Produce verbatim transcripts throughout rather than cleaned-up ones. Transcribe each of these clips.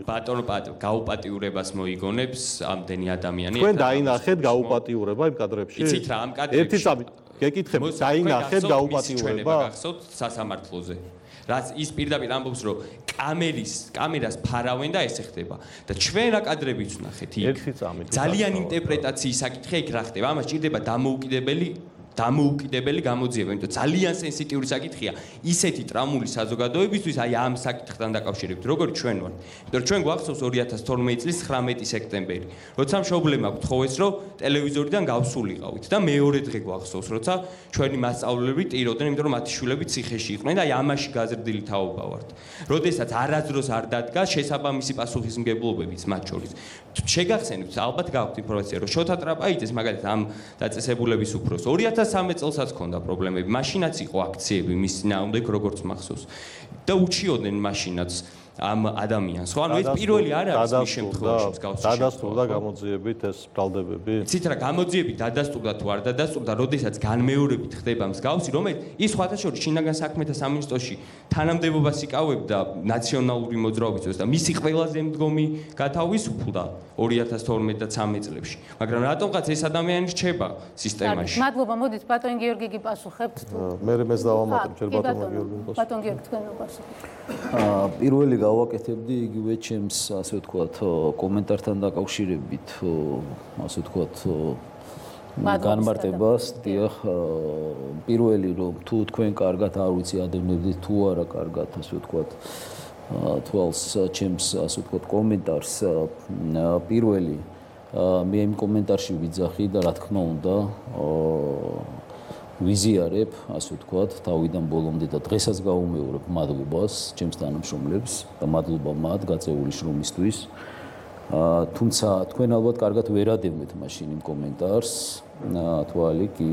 ბატონო გაუპატიურებას მოიგონებს ამდენი ადამიანი. თქვენ დაინახეთ გაუპატიურება იმ კადრებში? იცით რა ამ კადრებში? ერთი წამი გეკითხებ, დაინახეთ გაუპატიურება გახსოვთ სასამართლოზე. რაც ის პირდაპირ ამბობს, რომ კამერის კამერას ფარავენ და ესე ხდება. და ჩვენ რა კადრებიც ვნახეთ იქ. ერთი წამი. ძალიან ინტერპრეტაციის საკითხია იქ რა ხდება. ამას ჭირდება დამოუკიდებელი დამოუკიდებელი გამოძიება, იმიტომ ძალიან სენსიტიური საკითხია ისეთი ტრამული საზოგადოებისთვის, აი ამ საკითხთან დაკავშირებით, როგორც ჩვენ ვართ. იმიტომ რომ ჩვენ გვახსოვს ორი ათას თორმეტი წლის ცხრამეტი სექტემბერი, როცა მშობლებმა გთხოვეს, რომ ტელევიზორიდან გავსულიყავით და მეორე დღე გვახსოვს, როცა ჩვენი მასწავლებლები ტიროდნენ, იმიტომ რომ მათი შვილები ციხეში იყვნენ და აი ამაში გაზრდილი თაობა ვართ. როდესაც არასდროს არ დადგა შესაბამისი პასუხისმგებლობებიც მათ შორის. შეგახსენებთ, ალბათ გაქვთ ინფორმაცია, რომ შოთა ტრაპაიძეს მაგალითად ამ დაწესებულების უფროს ორი ათას სამი წელსაც ჰქონდა პრობლემები. მაშინაც იყო აქციები მის წინააღმდეგ, როგორც მახსოვს. და უჩიოდნენ მაშინაც ამ ადამიანს. ხო, ანუ ეს პირველი არ არის მის შემთხვევაში მსგავსი. დადასტურდა გამოძიებით ეს ბრალდებები? იცით რა, გამოძიებით დადასტურდა თუ არ დადასტურდა, როდესაც განმეორებით ხდება მსგავსი, რომელიც ის სხვათა შორის შინაგან საქმეთა სამინისტროში თანამდებობას იკავებდა ნაციონალური მოძრაობის და მისი ყველაზე მდგომი გათავისუფლდა ორი ათას თორმეტი და ცხრამეტი წლებში. მაგრამ რატომღაც ეს ადამიანი რჩება სისტემაში? მადლობა, მოდით ბატონ გიორგი გიპასუხებთ თუ. მე მეს დავამატებ ჯერ ბატონ გიორგი. ბატონ გიორგი თქვენ მოგასუხებთ. აა პირველი გავაკეთებდი იგივე ჩემს ასე ვთქვათ კომენტართან დაკავშირებით ასე ვთქვათ განმარტებას. დიახ, პირველი რომ თუ თქვენ კარგად არ ვიცი ადევნებდით თუ არა კარგად ასე ვთქვათ თვალს ჩემს ასე ვთქვათ კომენტარს. პირველი მე იმ კომენტარში ვიძახი და რა თქმა უნდა ვიზიარებ, ასე ვთქვათ, თავიდან ბოლომდე და დღესაც გავუმეორებ მადლობას ჩემს თანამშრომლებს და მადლობა მათ გაწეული შრომისთვის. თუმცა თქვენ ალბათ კარგად ვერ ადევნეთ მაშინ იმ კომენტარს, თვალი კი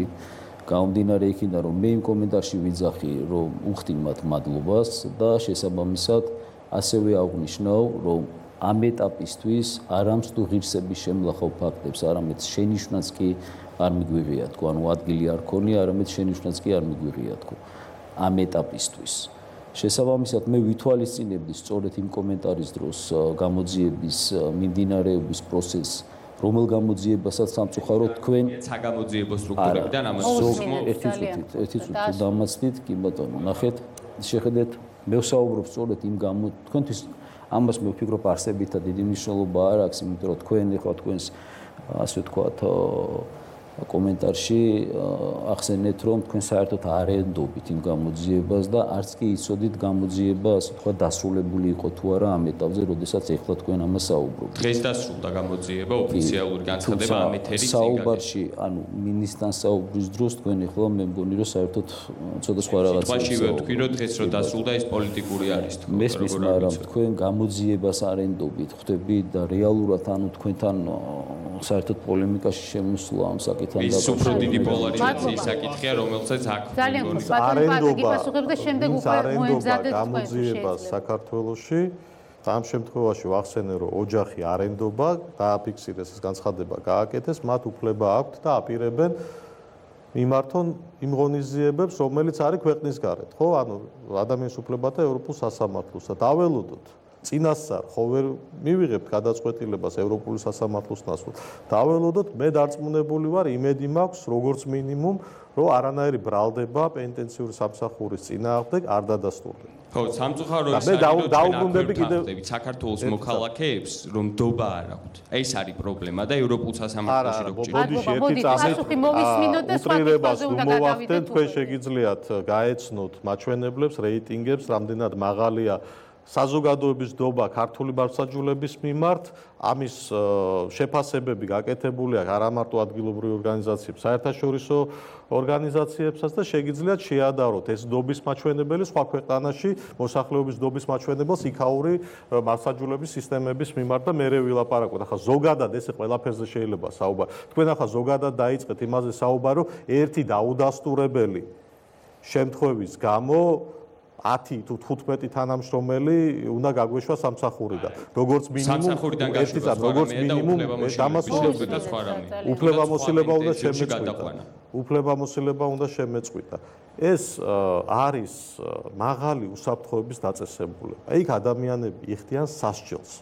გამომდინარე იქიდან, რომ მე იმ კომენტარში ვიძახი, რომ უხდი მათ მადლობას და შესაბამისად ასევე აღნიშნავ, რომ ამ ეტაპისთვის არამც თუ ღირსების შემლახავ ფაქტებს, არამედ შენიშვნაც კი არ მიგვიღია თქო, ანუ ადგილი არ ქონია, არამედ შენიშვნაც კი არ მიგვიღია თქო ამ ეტაპისთვის. შესაბამისად მე ვითვალისწინებდი სწორედ იმ კომენტარის დროს გამოძიების მიმდინარეობის პროცესს, რომელ გამოძიებასაც სამწუხაროდ თქვენ საგამოძიებო სტრუქტურებიდან ამას ერთი წუთით, ერთი წუთით დამასწრით, კი ბატონო, ნახეთ, შეხედეთ, მე ვსაუბრობ სწორედ იმ გამო თქვენთვის ამას მე ვფიქრობ არსებითად დიდი მნიშვნელობა არ აქვს, იმიტომ რომ თქვენ ეხლა თქვენს ასე ვთქვათ კომენტარში ახსენეთ, რომ თქვენ საერთოდ არ ენდობით იმ გამოძიებას და არც კი იცოდით გამოძიება ასე ვთქვათ დასრულებული იყო თუ არა ამ ეტაპზე, როდესაც ეხლა თქვენ ამას საუბრობთ. დღეს დასრულდა გამოძიება, ოფიციალური განცხადება ამ ეთერის საუბარში, ანუ მინისტრთან საუბრის დროს თქვენ ეხლა მე მგონი რომ საერთოდ ცოტა სხვა რაღაცა. სიტყვაშივე ვთქვი, რომ დღეს რომ დასრულდა ის პოლიტიკური არის თქო. მესმის, მაგრამ თქვენ გამოძიებას არ ენდობით, ხვდებით და რეალურად ანუ თქვენთან საერთოდ პოლემიკაში შემოსვლა ამ საკითხთან ის უფრო დიდი პოლარიზაციის საკითხია, რომელსაც აქ ძალიან ხშირად ბატონო გიპასუხებთ და შემდეგ უკვე მოემზადეთ გამოძიებას საქართველოში. ამ შემთხვევაში ვახსენე, რომ ოჯახი არ ენდობა, დააფიქსირეს ეს განცხადება, გააკეთეს, მათ უფლება აქვთ და აპირებენ მიმართონ იმ ღონისძიებებს, რომელიც არის ქვეყნის გარეთ, ხო? ანუ ადამიანის უფლებათა ევროპულ სასამართლოს და დაველოდოთ წინასწარ ხო ვერ მივიღებთ გადაწყვეტილებას ევროპული სასამართლოს ნაცვლად. დაველოდოთ, მე დარწმუნებული ვარ, იმედი მაქვს, როგორც მინიმუმ, რომ არანაირი ბრალდება პენიტენციური სამსახურის წინააღმდეგ არ დადასტურდება. ხო, სამწუხაროდ მე დაუბრუნდები კიდევ საქართველოს მოქალაქეებს, რომ დობა არ აქვთ. ეს არის პრობლემა და ევროპულ სასამართლოში რო ბოდიში ერთი წამით უტრირებას უმოვახდენ, თქვენ შეგიძლიათ გაეცნოთ მაჩვენებლებს, რეიტინგებს, რამდენად მაღალია საზოგადოების დობა ქართული მართლმსაჯულების მიმართ, ამის შეფასებები გაკეთებულია არა მარტო ადგილობრივი ორგანიზაციებს, საერთაშორისო ორგანიზაციებსაც და შეგიძლიათ შეადაროთ ეს დობის მაჩვენებელი სხვა ქვეყანაში მოსახლეობის დობის მაჩვენებელს იქაური მართლმსაჯულების სისტემების მიმართ და მერე ვილაპარაკოთ. ახლა ზოგადად ესე ყველაფერზე შეიძლება საუბარი. თქვენ ახლა ზოგადად დაიწყეთ იმაზე საუბარი, რომ ერთი დაუდასტურებელი შემთხვევის გამო ათი თუ თხუთმეტი თანამშრომელი უნდა გაგვეშვა სამსახურიდან. როგორც მინიმუმ ერთი წამი, როგორც მინიმუმ დამასრულებელი და სხვა რამე. უფლებამოსილება უნდა შემეწყვიტა. უფლებამოსილება უნდა შემეწყვიტა. ეს არის მაღალი უსაფრთხოების დაწესებულება. იქ ადამიანები იხდიან სასჯელს.